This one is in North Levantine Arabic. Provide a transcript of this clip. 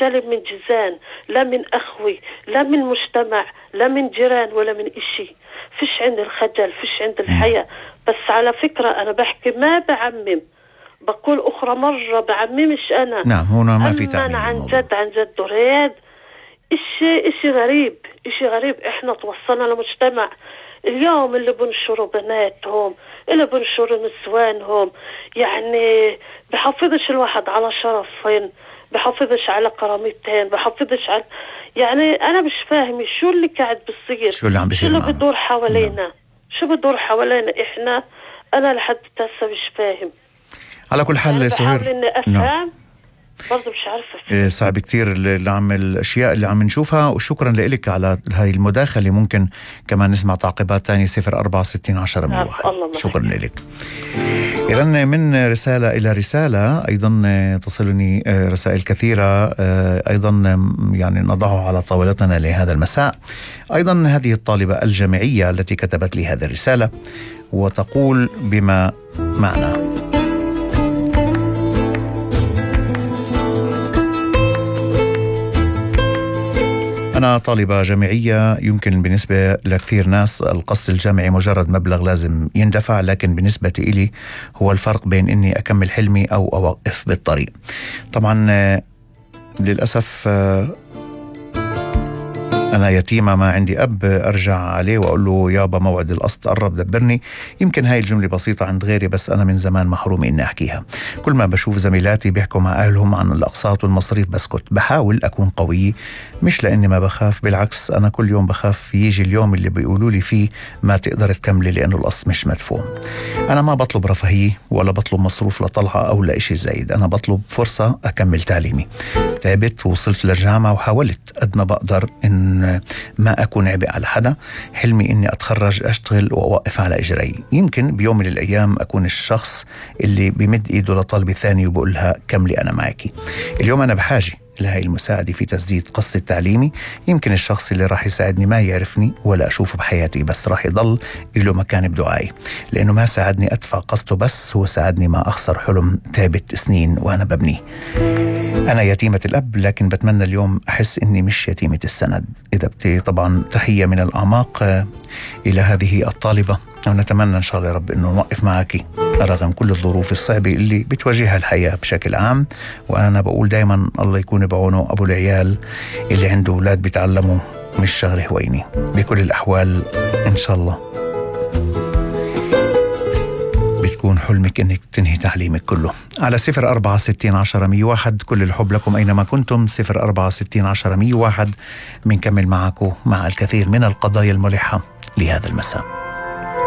جالب من جيزان، لا من أخوي، لا من مجتمع، لا من جيران، ولا من إشي. فيش عندي الخجل، فيش عندي الحياة. بس على فكرة أنا بحكي ما بعمم، بقول أخرى مرة بعممش أنا. نعم، هنا ما في تعميم عن جد دريد. إشي غريب، إشي غريب. إحنا توصلنا لمجتمع اليوم اللي بنشروا بناتهم، اللي بنشروا نسوانهم، يعني بحافظش الواحد على شرفين، بحافظش على كرامتين، بحافظش على، يعني أنا مش فاهمة شو اللي قاعد بيصير، شو اللي عم بيصير، شو اللي بدور حوالينا، شو بدور حوالينا إحنا. أنا لحد هسه مش فاهم. على كل حال يعني سهير، بحاول إني أفهم، برضو مش عارفة. صعب كتير اللي عم الأشياء اللي عم نشوفها. وشكرا لك على هاي المداخلة. ممكن كمان نسمع تعقيبات تانية. 046010 شكرا لك. إذن من رسالة إلى رسالة أيضا تصلني رسائل كثيرة أيضا يعني نضعها على طاولتنا لهذا المساء. أيضا هذه الطالبة الجامعية التي كتبت لي هذه الرسالة وتقول بما معنى: أنا طالبة جامعية. يمكن بالنسبة لكثير ناس القصد الجامعي مجرد مبلغ لازم يندفع، لكن بالنسبة إلي هو الفرق بين إني أكمل حلمي أو أوقف بالطريق. طبعا للأسف أنا يتيمة، ما عندي أب أرجع عليه وأقول له يابا موعد القسط قرب دبرني. يمكن هاي الجملة بسيطة عند غيري، بس أنا من زمان محروم إني أحكيها. كل ما بشوف زميلاتي بيحكوا مع أهلهم عن الأقساط والمصاريف بسكت. بحاول أكون قوي، مش لأني ما بخاف، بالعكس أنا كل يوم بخاف يجي اليوم اللي بيقولوا لي فيه ما تقدر تكملي لأنه القسط مش مدفوع. أنا ما بطلب رفاهية ولا بطلب مصروف لطلعة أو لإشي زايد، أنا بطلب فرصة أكمل تعليمي. تعبت ووصلت للجامعة وحاولت قد ما بقدر إن ما أكون عبء على حدا. حلمي إني أتخرج، أشتغل وأوقف على إجري. يمكن بيوم من الأيام أكون الشخص اللي بمد إيده لطالبة ثاني وبقولها كملي أنا معك. اليوم أنا بحاجة لهي المساعدة في تسديد قسطي التعليمي. يمكن الشخص اللي راح يساعدني ما يعرفني ولا أشوفه بحياتي، بس راح يضل له مكان بدعائي، لأنه ما ساعدني أدفع قسطه، بس هو ساعدني ما أخسر حلم تعبت سنين وأنا ببنيه. أنا يتيمة الأب، لكن بتمنى اليوم أحس إني مش يتيمة السند. إذا طبعا تحية من الأعماق إلى هذه الطالبة، ونتمنى إن شاء الله يا رب إنه نوقف معك رغم كل الظروف الصعبة اللي بتواجهها الحياة بشكل عام. وأنا بقول دايما الله يكون بعونه أبو العيال اللي عنده أولاد بيتعلموا مش شغله هويني. بكل الأحوال إن شاء الله بتكون حلمك إنك تنهي تعليمك كله. على 04601001 كل الحب لكم أينما كنتم. 04601001 بنكمل معكم مع الكثير من القضايا الملحة لهذا المساء.